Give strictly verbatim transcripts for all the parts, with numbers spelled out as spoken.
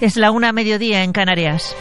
Es la una a mediodía en Canarias.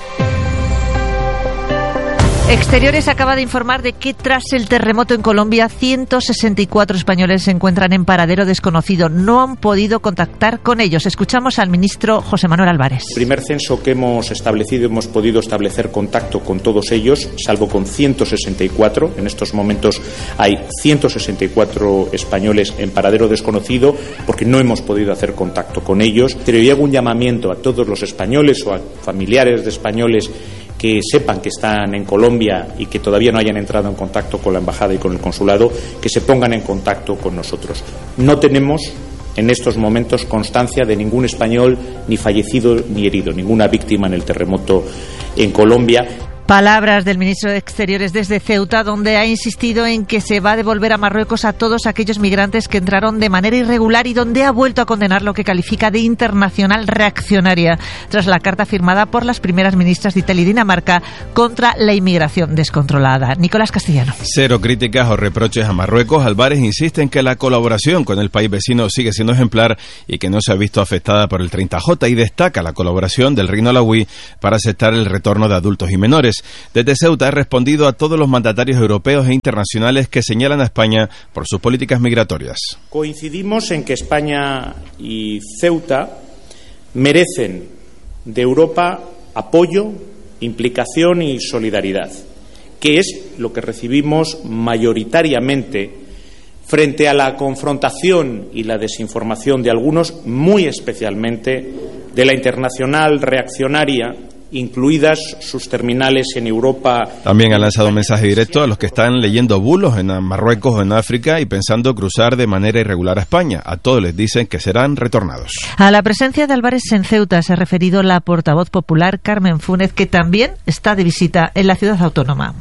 Exteriores acaba de informar de que tras el terremoto en Colombia, ciento sesenta y cuatro españoles se encuentran en paradero desconocido. No han podido contactar con ellos. Escuchamos al ministro José Manuel Álvarez. El primer censo que hemos establecido, hemos podido establecer contacto con todos ellos, salvo con ciento sesenta y cuatro. En estos momentos hay ciento sesenta y cuatro españoles en paradero desconocido porque no hemos podido hacer contacto con ellos. Pero yo hago un llamamiento a todos los españoles o a familiares de españoles que sepan que están en Colombia y que todavía no hayan entrado en contacto con la embajada y con el consulado, que se pongan en contacto con nosotros. No tenemos en estos momentos constancia de ningún español ni fallecido ni herido, ninguna víctima en el terremoto en Colombia. Palabras del ministro de Exteriores desde Ceuta, donde ha insistido en que se va a devolver a Marruecos a todos aquellos migrantes que entraron de manera irregular y donde ha vuelto a condenar lo que califica de internacional reaccionaria tras la carta firmada por las primeras ministras de Italia y Dinamarca contra la inmigración descontrolada. Nicolás Castellano. Cero críticas o reproches a Marruecos. Álvarez insiste en que la colaboración con el país vecino sigue siendo ejemplar y que no se ha visto afectada por el treinta J, y destaca la colaboración del Reino Alauí para aceptar el retorno de adultos y menores. Desde Ceuta ha respondido a todos los mandatarios europeos e internacionales que señalan a España por sus políticas migratorias. Coincidimos en que España y Ceuta merecen de Europa apoyo, implicación y solidaridad, que es lo que recibimos mayoritariamente frente a la confrontación y la desinformación de algunos, muy especialmente de la internacional reaccionaria, incluidas sus terminales en Europa. También ha lanzado un mensaje directo a los que están leyendo bulos en Marruecos o en África y pensando cruzar de manera irregular a España. A todos les dicen que serán retornados. A la presencia de Álvarez en Ceuta se ha referido la portavoz popular Carmen Fúnez, que también está de visita en la ciudad autónoma.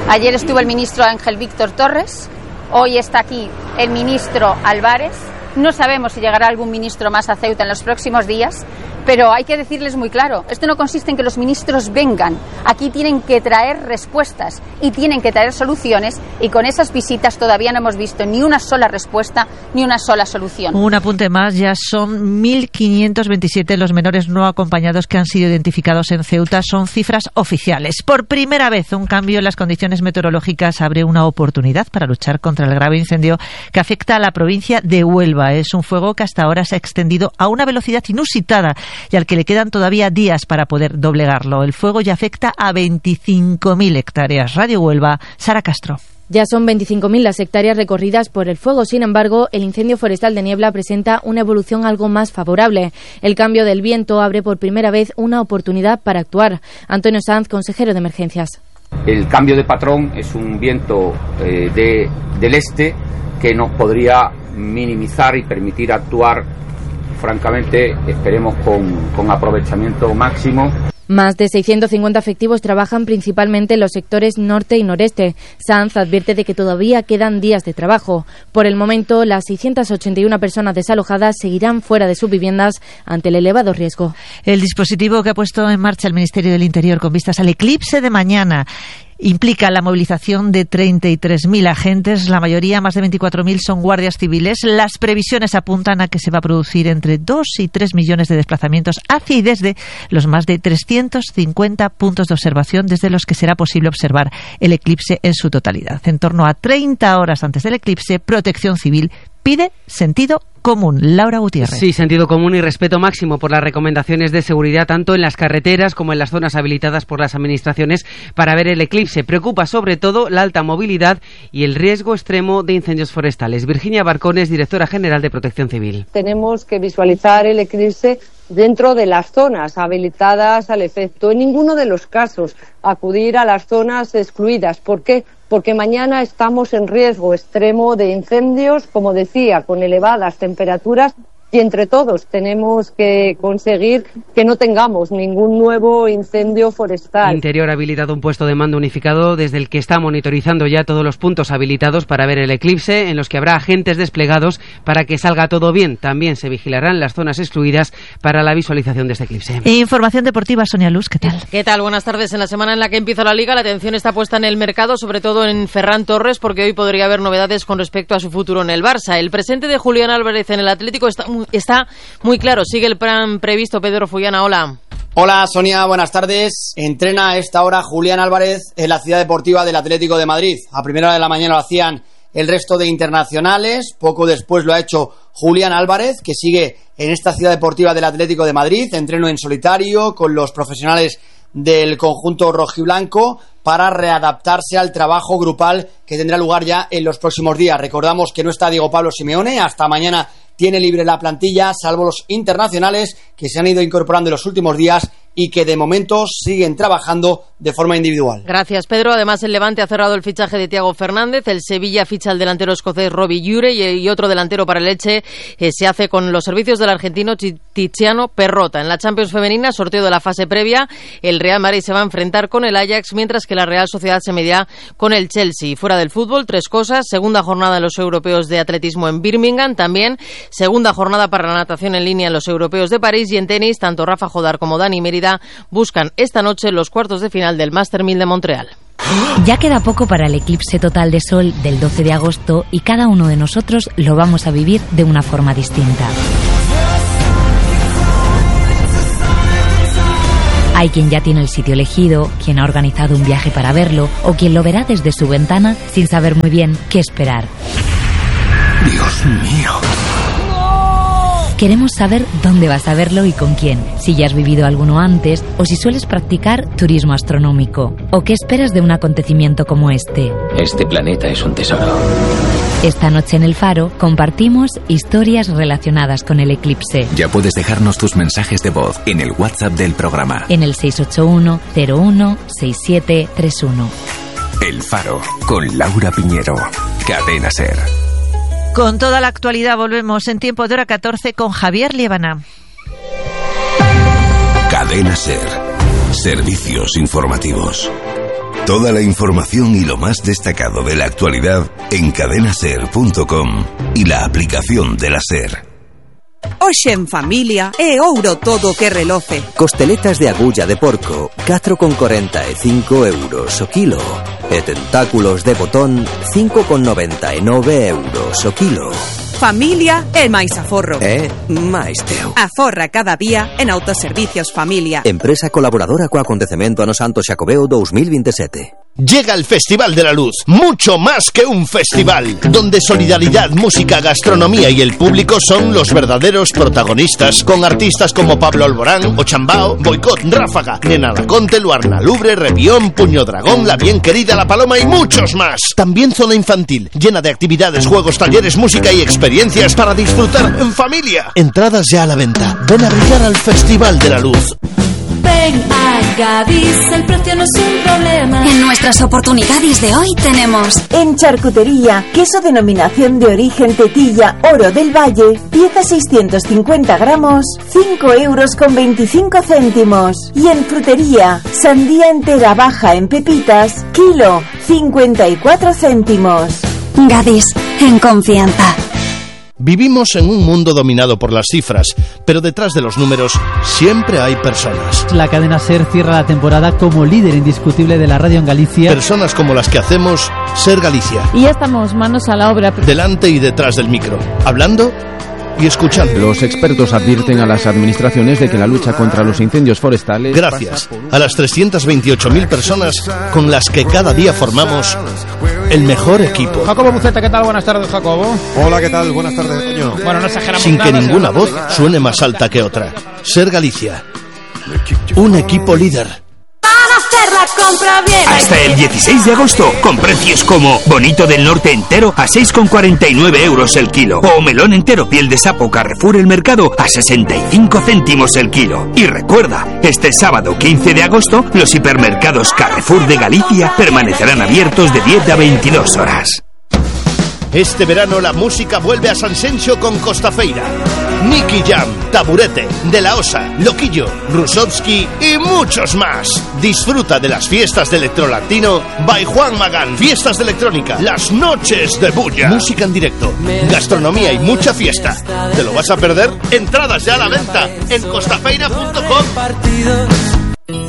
Ayer estuvo el ministro Ángel Víctor Torres, hoy está aquí el ministro Álvarez. No sabemos si llegará algún ministro más a Ceuta en los próximos días, pero hay que decirles muy claro, esto no consiste en que los ministros vengan, aquí tienen que traer respuestas y tienen que traer soluciones, y con esas visitas todavía no hemos visto ni una sola respuesta ni una sola solución. Un apunte más, ya son mil quinientos veintisiete los menores no acompañados que han sido identificados en Ceuta, son cifras oficiales. Por primera vez, un cambio en las condiciones meteorológicas abre una oportunidad para luchar contra el grave incendio que afecta a la provincia de Huelva. Es un fuego que hasta ahora se ha extendido a una velocidad inusitada y al que le quedan todavía días para poder doblegarlo. El fuego ya afecta a veinticinco mil hectáreas. Radio Huelva, Sara Castro. Ya son veinticinco mil las hectáreas recorridas por el fuego. Sin embargo, el incendio forestal de Niebla presenta una evolución algo más favorable. El cambio del viento abre por primera vez una oportunidad para actuar. Antonio Sanz, consejero de Emergencias. El cambio de patrón es un viento eh, de, del este que nos podría minimizar y permitir actuar, francamente, esperemos con, con aprovechamiento máximo. Más de seiscientos cincuenta efectivos trabajan principalmente en los sectores norte y noreste. Sanz advierte de que todavía quedan días de trabajo. Por el momento, las seiscientas ochenta y una personas desalojadas seguirán fuera de sus viviendas ante el elevado riesgo. El dispositivo que ha puesto en marcha el Ministerio del Interior con vistas al eclipse de mañana implica la movilización de treinta y tres mil agentes, la mayoría, más de veinticuatro mil, son guardias civiles. Las previsiones apuntan a que se va a producir entre dos y tres millones de desplazamientos hacia y desde los más de trescientos cincuenta puntos de observación desde los que será posible observar el eclipse en su totalidad. En torno a treinta horas antes del eclipse, Protección Civil pide sentido común. Laura Gutiérrez. Sí, sentido común y respeto máximo por las recomendaciones de seguridad tanto en las carreteras como en las zonas habilitadas por las administraciones para ver el eclipse. Preocupa sobre todo la alta movilidad y el riesgo extremo de incendios forestales. Virginia Barcones, directora general de Protección Civil. Tenemos que visualizar el eclipse dentro de las zonas habilitadas al efecto. En ninguno de los casos acudir a las zonas excluidas. ¿Por qué? Porque mañana estamos en riesgo extremo de incendios, como decía, con elevadas temperaturas, y entre todos tenemos que conseguir que no tengamos ningún nuevo incendio forestal. Interior ha habilitado un puesto de mando unificado desde el que está monitorizando ya todos los puntos habilitados para ver el eclipse, en los que habrá agentes desplegados para que salga todo bien. También se vigilarán las zonas excluidas para la visualización de este eclipse. Información deportiva, Sonia Luz, ¿qué tal? ¿Qué tal? Buenas tardes. En la semana en la que empieza la Liga, la atención está puesta en el mercado, sobre todo en Ferran Torres, porque hoy podría haber novedades con respecto a su futuro en el Barça. El presente de Julián Álvarez en el Atlético está muy Está muy claro, sigue el plan previsto. Pedro Fullana, hola. Hola Sonia, buenas tardes. Entrena a esta hora Julián Álvarez en la Ciudad Deportiva del Atlético de Madrid. A primera hora de la mañana lo hacían el resto de internacionales. Poco después lo ha hecho Julián Álvarez, que sigue en esta Ciudad Deportiva del Atlético de Madrid. Entreno en solitario con los profesionales del conjunto rojiblanco para readaptarse al trabajo grupal que tendrá lugar ya en los próximos días. Recordamos que no está Diego Pablo Simeone, hasta mañana tiene libre la plantilla, salvo los internacionales que se han ido incorporando en los últimos días y que de momento siguen trabajando de forma individual. Gracias, Pedro. Además, el Levante ha cerrado el fichaje de Thiago Fernández, el Sevilla ficha al delantero escocés Robbie Ure y, y otro delantero para el Elche eh, se hace con los servicios del argentino Tiziano Perrota. En la Champions femenina, sorteo de la fase previa, el Real Madrid se va a enfrentar con el Ajax, mientras que la Real Sociedad se medirá con el Chelsea. Fuera del fútbol, tres cosas: segunda jornada en los europeos de atletismo en Birmingham, también segunda jornada para la natación en línea en los europeos de París, y en tenis, tanto Rafa Jodar como Dani Mérida buscan esta noche los cuartos de final del Master mil de Montreal. Ya queda poco para el eclipse total de sol del doce de agosto y cada uno de nosotros lo vamos a vivir de una forma distinta. Hay quien ya tiene el sitio elegido, quien ha organizado un viaje para verlo o quien lo verá desde su ventana sin saber muy bien qué esperar. Dios mío. Queremos saber dónde vas a verlo y con quién, si ya has vivido alguno antes o si sueles practicar turismo astronómico. ¿O qué esperas de un acontecimiento como este? Este planeta es un tesoro. Esta noche en El Faro compartimos historias relacionadas con el eclipse. Ya puedes dejarnos tus mensajes de voz en el WhatsApp del programa. En el seis ocho uno cero uno seis siete tres uno. El Faro, con Laura Piñero. Cadena SER. Con toda la actualidad volvemos en tiempo de hora catorce con Javier Liébana. Cadena SER. Servicios informativos. Toda la información y lo más destacado de la actualidad en cadena ser punto com y la aplicación de la SER. Hoxe en familia é ouro todo que reloce. Costeletas de agulla de porco, catro con corenta e cinco euros o kilo. E tentáculos de botón, cinco con noventa e nove euros o kilo. Familia é máis aforro. É máis teu. Aforra cada día en Autoservicios Familia. Empresa colaboradora co acontecemento ano Santo Xacobeo dos mil veintisiete. Llega el Festival de la Luz, mucho más que un festival, donde solidaridad, música, gastronomía y el público son los verdaderos protagonistas, con artistas como Pablo Alborán, Ochambao, Boicot, Ráfaga, Nena Laconte, Luarna Lubre, Repión, Puño Dragón, La Bien Querida, La Paloma y muchos más. También zona infantil, llena de actividades, juegos, talleres, música y experiencias para disfrutar en familia. Entradas ya a la venta. Ven a brillar al Festival de la Luz. Ven a Gadis, el precio no es un problema. En nuestras oportunidades de hoy tenemos en charcutería, queso denominación de origen Tetilla Oro del Valle, pieza seiscientos cincuenta gramos, cinco euros con veinticinco céntimos. Y en frutería, sandía entera baja en pepitas, kilo, cincuenta y cuatro céntimos. Gadis, en confianza. Vivimos en un mundo dominado por las cifras, pero detrás de los números siempre hay personas. La cadena SER cierra la temporada como líder indiscutible de la radio en Galicia. Personas como las que hacemos SER Galicia. Y ya estamos manos a la obra. Delante y detrás del micro, hablando y escuchando. Los expertos advierten a las administraciones de que la lucha contra los incendios forestales... Gracias a las trescientas veintiocho mil personas con las que cada día formamos el mejor equipo. Jacobo Buceta, ¿qué tal? Buenas tardes, Jacobo. Hola, ¿qué tal? Buenas tardes, Toño. Bueno, no exageramos Sin nada, que ninguna voz suene más alta que otra. SER Galicia. Un equipo líder. Hacer la compra bien. Hasta el dieciséis de agosto, con precios como bonito del norte entero a seis con cuarenta y nueve euros el kilo, o melón entero piel de sapo Carrefour El Mercado a sesenta y cinco céntimos el kilo. Y recuerda, este sábado quince de agosto, los hipermercados Carrefour de Galicia permanecerán abiertos de diez a veintidós horas. Este verano la música vuelve a San Xenxo con Costafeira. Nicky Jam, Taburete, De La Osa, Loquillo, Rusovsky y muchos más. Disfruta de las fiestas de electrolatino by Juan Magán. Fiestas de electrónica, las noches de bulla. Música en directo, gastronomía y mucha fiesta. ¿Te lo vas a perder? Entradas ya a la venta en costafeira punto com.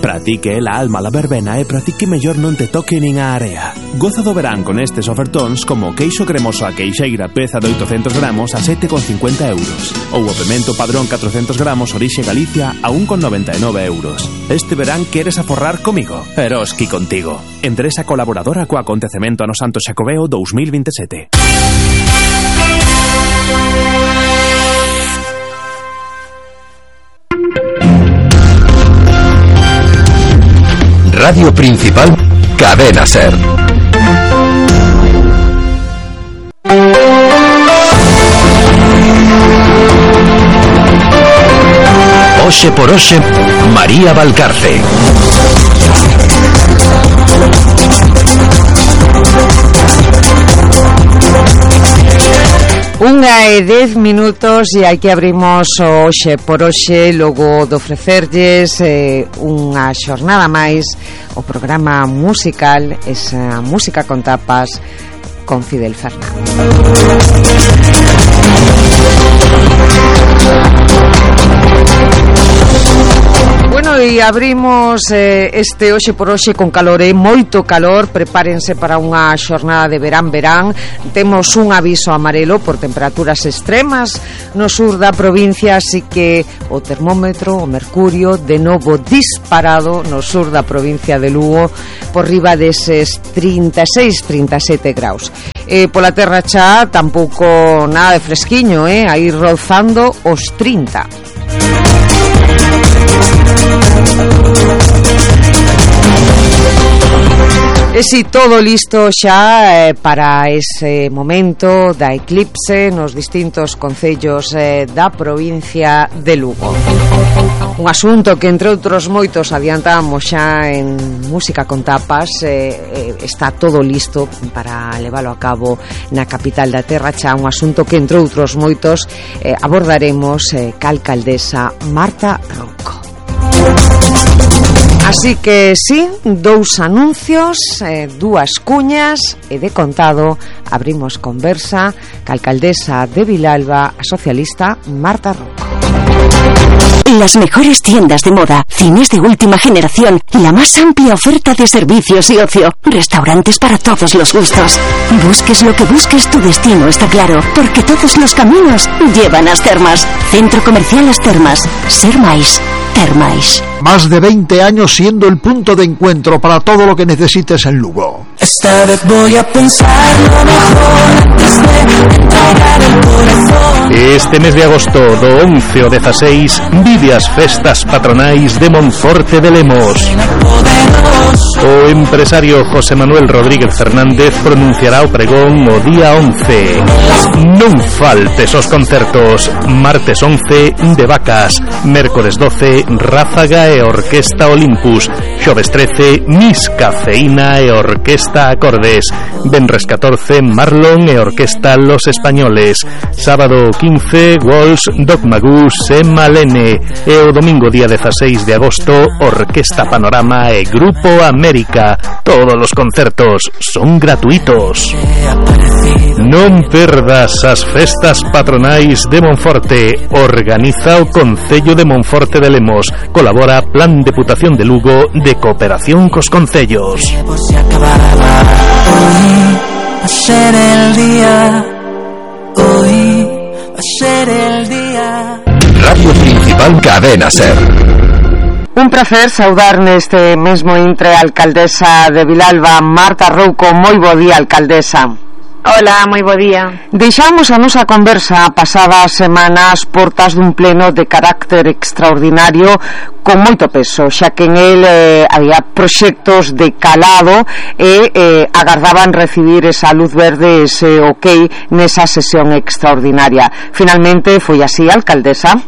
Pra ti que é a alma la verbena e pra ti que mellor non te toque nin a area. Goza do verán con estes ofertóns como queixo cremoso a queixeira peza de oitocentos gramos a sete con cincuenta euros ou o pemento padrón catrocentos gramos orixe Galicia a un con noventa e nove euros. Este verán queres aforrar comigo? Eroski contigo. Empresa colaboradora co acontecemento no Santo Xacobeo dos mil veintisiete. Radio Principal, Cadena Ser. Oxe por Oxe, María Valcarce. Unha e dez minutos e aquí abrimos o Oxe por Oxe, logo de ofrecerlles eh, unha xornada máis o programa musical, esa música con tapas con Fidel Fernández. Bueno, e abrimos eh, este Oxe por Oxe con calor, eh, moito calor. Prepárense para unha xornada de verán-verán. Temos un aviso amarelo por temperaturas extremas no sur da provincia, así que o termómetro, o mercurio, de novo disparado no sur da provincia de Lugo, por riba deses trinta e seis, trinta e sete graus. Eh, pola terra xa tampouco nada de fresquiño, eh, aí rozando os trinta. E si todo listo xa eh, para ese momento da eclipse nos distintos concellos eh, da provincia de Lugo. Un asunto que, entre outros moitos, adiantamos xa en Música con Tapas. eh, eh, está todo listo para leválo a cabo na capital da terra xa, un asunto que, entre outros moitos, eh, abordaremos eh, ca alcaldesa Marta Rouco. Así que sí, dous anuncios, eh, dúas cuñas e de contado abrimos conversa ca alcaldesa de Vilalba, a socialista Marta Rouco. Las mejores tiendas de moda, cines de última generación, la más amplia oferta de servicios y ocio, restaurantes para todos los gustos. Busques lo que busques, tu destino está claro, porque todos los caminos llevan a As Termas. Centro Comercial As Termas. Ser máis, ter máis. Más de veinte años siendo el punto de encuentro para todo lo que necesites en Lugo. Esta vez voy a pensar lo mejor antes de entregar el corazón. Este mes de agosto do once ao dezaseis vive as festas patronais de Monforte de Lemos. O empresario José Manuel Rodríguez Fernández pronunciará o pregón o día once. Non faltes os concertos. Martes once, De Vacas. Mércores doce, Ráfaga e Orquesta Olympus. Xoves trece, Miss Cafeína e Orquesta Acordes. Venres catorce, Marlon e Orquesta Los Españoles. Sábado quince, Walsh, Dogma Goose e Malene. E o domingo día dezaseis de agosto, Orquesta Panorama e Grupo América. Todos os concertos son gratuitos. Non perdas as festas patronais de Monforte. Organiza o Concello de Monforte de Lemos. Colabora Plan Deputación de Lugo de Cooperación cos Concellos. Hoy va a ser el día. Hoy va a ser el día. Radio Principal, Cadena Ser. Un placer saudar neste mesmo intre a alcaldesa de Vilalba, Marta Rouco. Moi bo día, alcaldesa. Hola, moi bo día. Deixamos a nosa conversa pasadas semanas portas dun pleno de carácter extraordinario con moito peso, xa que en el eh, había proxectos de calado e eh, agardaban recibir esa luz verde, ese ok nesa sesión extraordinaria. Finalmente foi así, alcaldesa?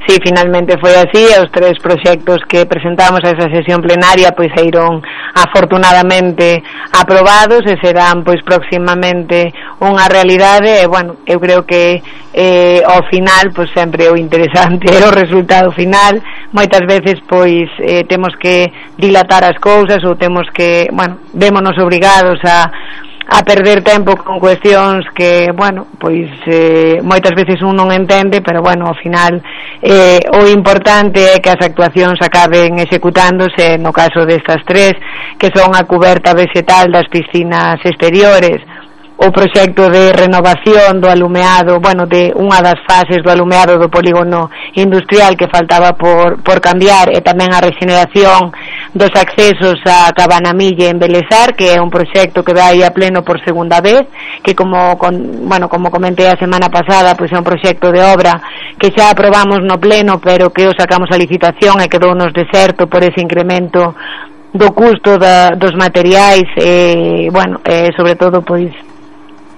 Sí, finalmente foi así, e os tres proxectos que presentamos a esa sesión plenaria pois eiron afortunadamente aprobados e serán pois próximamente unha realidade. E bueno, eu creo que eh, ao final pois sempre o interesante é o resultado final. Moitas veces pois eh, temos que dilatar as cousas ou temos que, bueno, vémonos obrigados a a perder tempo con cuestións que, bueno, pois eh, moitas veces un non entende, pero bueno, ao final eh, o importante é que as actuacións acaben executándose, no caso destas tres, que son a cuberta vegetal das piscinas exteriores, o proxecto de renovación do alumeado, bueno, de unha das fases do alumeado do polígono industrial que faltaba por, por cambiar, e tamén a regeneración dos accesos a Cabanamille en Belesar, que é un proxecto que vai a pleno por segunda vez, que como, con, bueno, como comentei a semana pasada, pois é un proxecto de obra que xa aprobamos no pleno, pero que o sacamos a licitación e quedou nos deserto por ese incremento do custo da, dos materiais, e, bueno, e sobre todo, pois,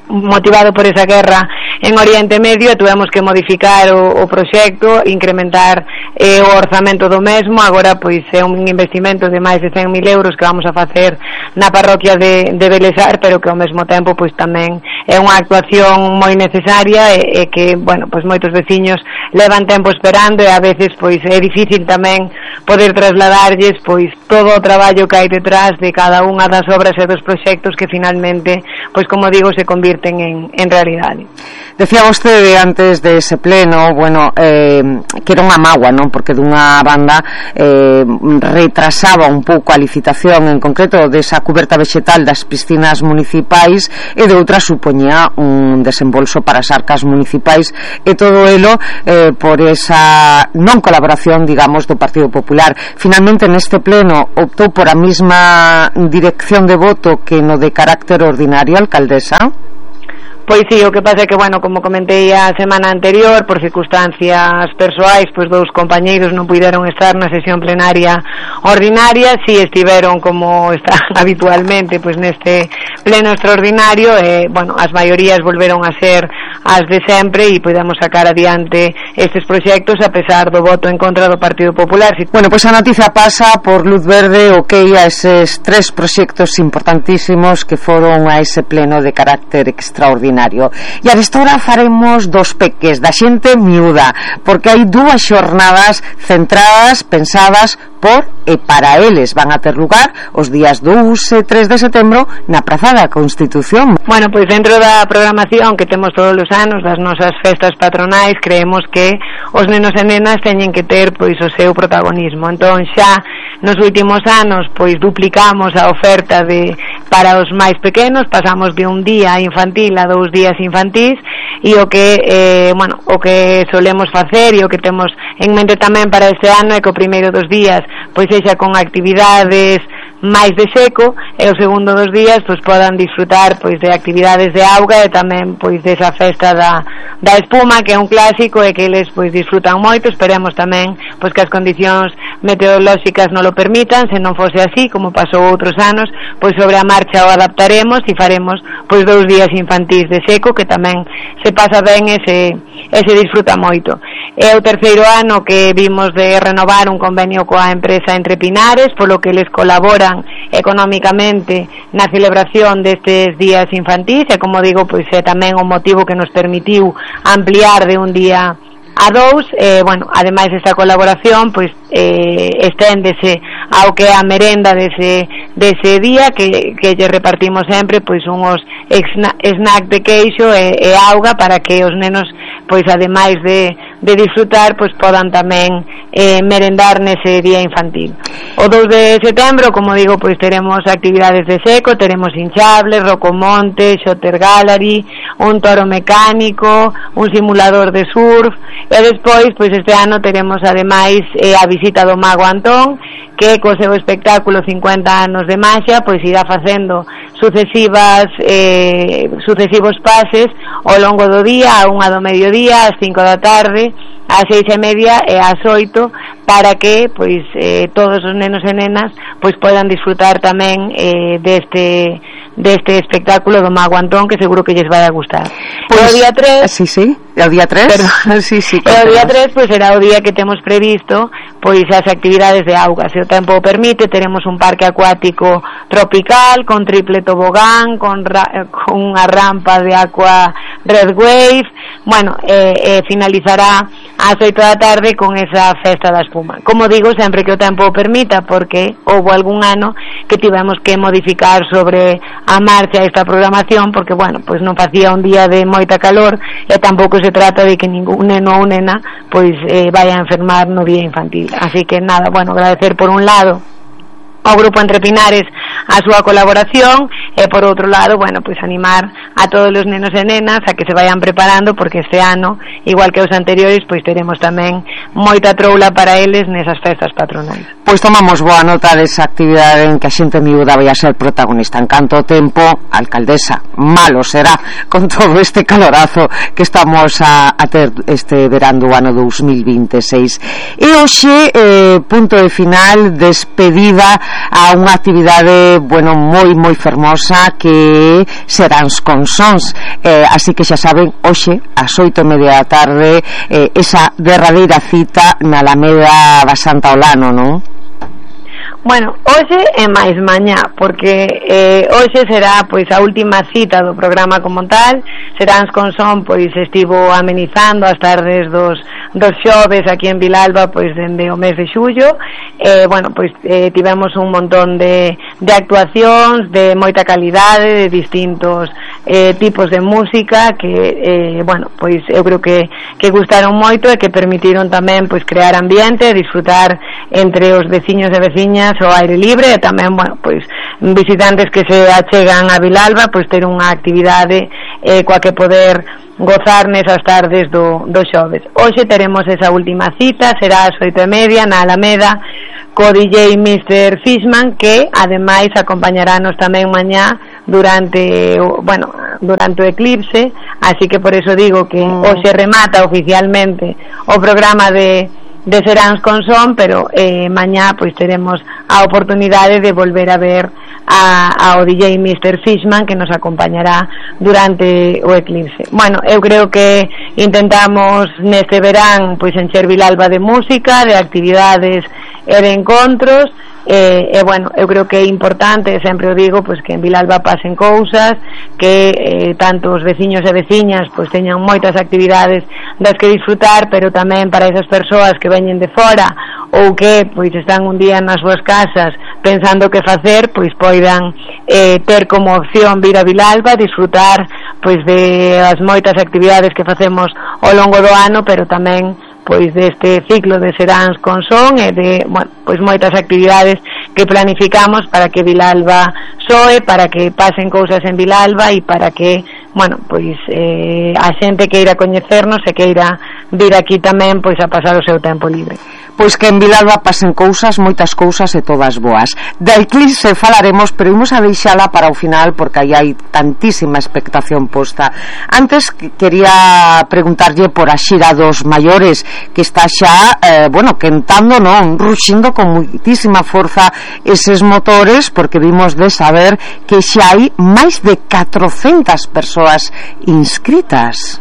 motivado por esa guerra en Oriente Medio, tuvemos que modificar o, o proxecto, incrementar eh, o orzamento do mesmo. Agora pois é un investimento de máis de cen mil euros que vamos a facer na parroquia de, de Belesar, pero que ao mesmo tempo pois tamén é unha actuación moi necesaria e, e que, bueno, pois moitos veciños levan tempo esperando, e a veces pois é difícil tamén poder trasladarlles pois todo o traballo que hai detrás de cada unha das obras e dos proxectos que finalmente, pois como digo, se convirten En, en realidade. Decía vostede antes de ese pleno, bueno, eh, que era unha mágoa, non? Porque dunha banda eh, retrasaba un pouco a licitación, en concreto desa cuberta vegetal das piscinas municipais, e de outra supoñía un desembolso para as arcas municipais, e todo elo eh, por esa non colaboración, digamos, do Partido Popular. Finalmente neste pleno optou por a mesma dirección de voto que no de carácter ordinario, alcaldesa. Pois sí, o que pasa é que, bueno, como comentei a semana anterior, por circunstancias persoais, pois dous compañeiros non puideron estar na sesión plenaria ordinaria, si estiveron como están habitualmente, pois neste pleno extraordinario, e, bueno, as maiorías volveron a ser as de sempre e podemos sacar adiante estes proxectos a pesar do voto en contra do Partido Popular. Bueno, pois a noticia pasa por luz verde, ok, a eses tres proxectos importantísimos que foron a ese pleno de carácter extraordinario. E a desta faremos dos peques da xente miúda, porque hai dúas xornadas centradas, pensadas por e para eles. Van a ter lugar os días dous e tres de setembro na Praza da Constitución. Bueno, pois dentro da programación que temos todos os anos das nosas festas patronais, creemos que os nenos e nenas teñen que ter pois o seu protagonismo. Entón xa nos últimos anos pois duplicamos a oferta de para os máis pequenos, pasamos de un día infantil a dous días infantís, e o que eh, bueno, o que solemos facer e o que temos en mente tamén para este ano é que o primeiro dos días pois sexa con actividades máis de seco, e o segundo dos días pois podan disfrutar pois de actividades de auga e tamén pois desa festa da, da espuma, que é un clásico e que eles pois disfrutan moito. Esperemos tamén pois que as condicións meteorolóxicas non lo permitan. Se non fose así, como pasou outros anos, pois sobre a marcha o adaptaremos e faremos pois dous días infantís de seco, que tamén se pasa ben e se, e se disfruta moito. É o terceiro ano que vimos de renovar un convenio coa empresa Entre Pinares, polo que les colaboran económicamente na celebración destes días infantís, e como digo, pois é tamén o motivo que nos permitiu ampliar de un día a dous. Eh, bueno, ademais desta colaboración pois eh, esténdese ao que é a merenda dese, dese día, que, que lle repartimos sempre pois unhos snack de queixo e, e auga para que os nenos pois ademais de, de disfrutar pois podan tamén eh, merendar nese día infantil. O dous de setembro, como digo, pois teremos actividades de seco, teremos hinchables, rocomonte, Xotter Gallery, un toro mecánico, un simulador de surf, e despois pois este ano teremos ademais eh, a visita do Mago Antón, que co seu espectáculo cincuenta anos de maxia pois irá facendo sucesivas eh, sucesivos pases ao longo do día, a unha do mediodía, ás cinco da tarde, ás seis e media e ás oito, para que pois eh, todos os nenos e nenas pois podan disfrutar tamén eh, deste deste espectáculo do Mago Antón, que seguro que lles vai a gustar. Pois, o día tres, sí, sí. E o día tres? Pero, sí, sí. E o día tres, pois, será o día que temos previsto pois as actividades de auga. Se o tempo o permite, teremos un parque acuático tropical con triple tobogán, con, ra- con unha rampa de aqua Red Wave. Bueno, eh, eh, finalizará ás oito da tarde con esa festa da espuma. Como digo, sempre que o tempo o permita, porque houve algún ano que tivemos que modificar sobre a marcha esta programación, porque, bueno, pois non facía un día de moita calor e tampouco se trata de que ningún neno ou nena pois eh, vaya a enfermar no día infantil. Así que nada, bueno, agradecer por un lado ao Grupo Entre Pinares a súa colaboración e por outro lado, bueno, pois animar a todos os nenos e nenas a que se vayan preparando, porque este ano, igual que os anteriores, pois teremos tamén moita troula para eles nesas festas patronais. Pois tomamos boa nota desa actividade en que a xente miúda vai a ser protagonista. En canto tempo, alcaldesa, malo será con todo este calorazo que estamos a, a ter este verán do ano dos mil vinte e seis. E hoxe, eh, punto de final, despedida a unha actividade, bueno, moi moi fermosa que serán os consons, eh, así que xa saben, hoxe ás oito e media da tarde, eh, esa derradeira cita na Alameda da Santa Olano, non? Bueno, hoxe é máis mañá, porque eh, hoxe será pois a última cita do programa como tal. Serán con son, pois estivo amenizando as tardes dos, dos xoves aquí en Vilalba pois dende o mes de xullo. eh, bueno, pois eh, tivemos un montón de, de actuacións de moita calidade, de distintos eh, tipos de música que, eh, bueno, pois eu creo que, que gustaron moito e que permitiron tamén pois crear ambiente, disfrutar entre os veciños e veciñas ao aire libre, e tamén, bueno, pois visitantes que se achegan a Vilalba pois ter unha actividade eh, coa que poder gozar nesas tardes do, do xoves. Hoxe teremos esa última cita, será ás oito e media na Alameda co D J mister Fishman, que ademais acompañarános tamén mañá durante o, bueno, durante o eclipse, así que por eso digo que mm. hoxe remata oficialmente o programa de de Seráns con Son, pero eh, mañá pois teremos a oportunidade de volver a ver a, ao D J mister Fishman, que nos acompañará durante o eclipse. Bueno, eu creo que intentamos neste verán pois encher Vilalba de música, de actividades e de encontros. E, e bueno, eu creo que é importante, sempre o digo, pois que en Vilalba pasen cousas, que eh, tanto os veciños e veciñas pois teñan moitas actividades das que disfrutar, pero tamén para esas persoas que veñen de fora ou que pois están un día nas súas casas pensando que facer, pois poidan eh, ter como opción vir a Vilalba, disfrutar pois de as moitas actividades que facemos ao longo do ano, pero tamén pois deste ciclo de Seráns con Son e de, bueno, pois moitas actividades que planificamos para que Vilalba soe, para que pasen cousas en Vilalba e para que, bueno, pois eh, a xente queira coñecernos e queira vir aquí tamén pois a pasar o seu tempo libre. Pois que en Vilalba pasen cousas, moitas cousas e todas boas. Da eclipse falaremos, pero imos a deixala para o final porque aí hai tantísima expectación posta. Antes quería preguntarlle por a xira dos maiores, que está xa, eh, bueno, quentando, non, ruxindo con moitísima forza eses motores, porque vimos de saber que xa hai máis de catrocentas persoas inscritas.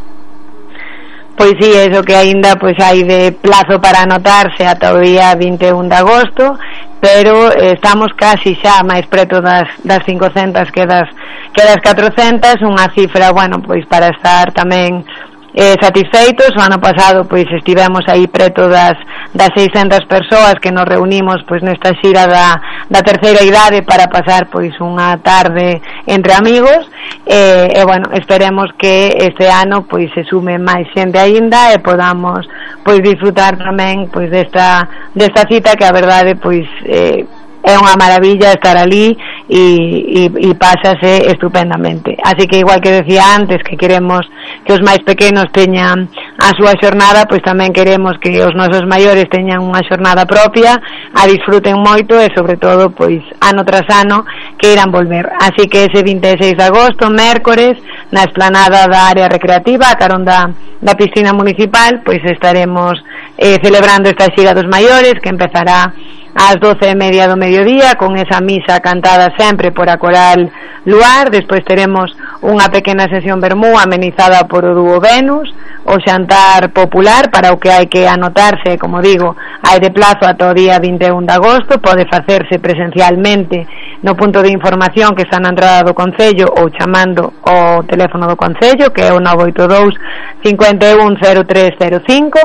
Pois sí, eso que aínda pois hai de plazo para anotarse ata o día vinte e un de agosto, pero eh, estamos casi xa máis preto das, das cincocentas que das, que das catrocentas, unha cifra, bueno, pois para estar tamén eh, satisfeitos. O ano pasado pois estivemos aí preto das, das seiscentas persoas que nos reunimos pois nesta xira da, da terceira idade para pasar pois unha tarde entre amigos. E, e bueno, esperemos que este ano pois se sume máis xente aínda e podamos pois disfrutar tamén pois desta, desta cita que a verdade pois eh, é unha maravilla estar ali e, e, e pásase estupendamente. Así que igual que decía antes que queremos que os máis pequenos teñan a súa xornada, pois tamén queremos que os nosos maiores teñan unha xornada propia, a disfruten moito e sobre todo pois ano tras ano que irán volver. Así que ese vinte e seis de agosto, mércores, na esplanada da área recreativa, a carón da, da piscina municipal, pois estaremos eh, celebrando esta xira dos maiores, que empezará ás doce e media do mediodía, con esa misa cantada sempre por a coral luar. Despois teremos unha pequena sesión vermú amenizada por o dúo Venus, o xantar popular para o que hai que anotarse, como digo, hai de plazo ata o día vinte e un de agosto, pode facerse presencialmente no punto de información que está na entrada do Concello ou chamando o teléfono do Concello, que é o nove oito dous, cinco un, cero tres cero cinco.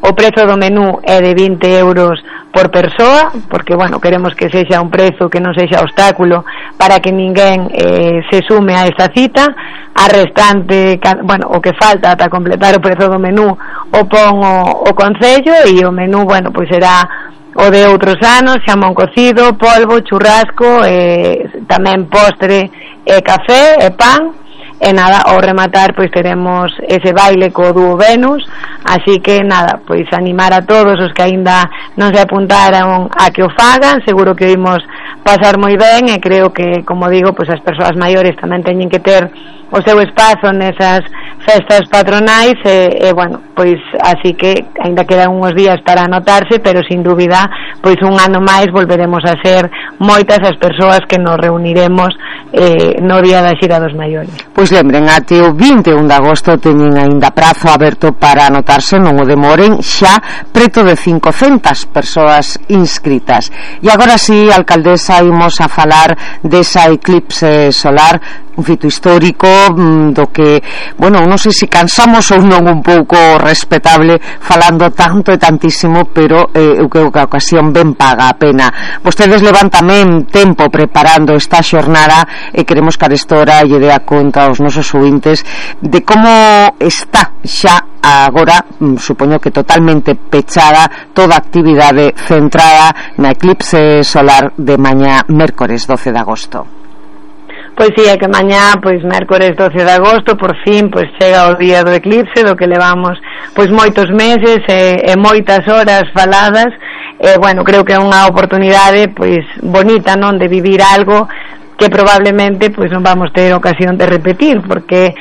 O prezo do menú é de vinte euros por persoa, porque, bueno, queremos que sexa un prezo que non sexa obstáculo para que ninguén eh, se sume a esta cita. A restante, bueno, o que falta ata completar o prezo do menú o pon o, o Concello, e o menú, bueno, pois será o de outros anos, xamón cocido, polvo, churrasco, eh, tamén postre, e café e pan. E nada, ao rematar pois teremos ese baile co dúo Venus, así que nada, pois animar a todos os que aínda non se apuntaron a que o fagan. Seguro que oímos pasar moi ben, e creo que, como digo, pois as persoas maiores tamén teñen que ter o seu espazo nesas festas patronais, e, e bueno, pois así que aínda quedan uns días para anotarse, pero sin dúbida pois un ano máis volveremos a ser moitas as persoas que nos reuniremos eh, no día da xira dos maiores. Pois lembren, até o vinte e un de agosto teñen aínda prazo aberto para anotarse, non o demoren, xa preto de cincocentas persoas inscritas. E agora sí, alcaldesa, imos a falar desa eclipse solar, un fito histórico do que, bueno, non sei se cansamos ou non un pouco respetable falando tanto e tantísimo, pero eh, eu creo que a ocasión ben paga a pena. Vostedes levan tamén tempo preparando esta xornada e queremos que a restora lle dea conta aos nosos ouvintes de como está xa agora, supoño que totalmente pechada toda a actividade centrada na eclipse solar de mañá mércores doce de agosto. Pois sí, é que mañá, pois mércores doce de agosto, por fin, pois chega o día do eclipse, do que levamos pois moitos meses e, e moitas horas faladas. E, bueno, creo que é unha oportunidade pois bonita, non, de vivir algo que probablemente pois non vamos ter ocasión de repetir, porque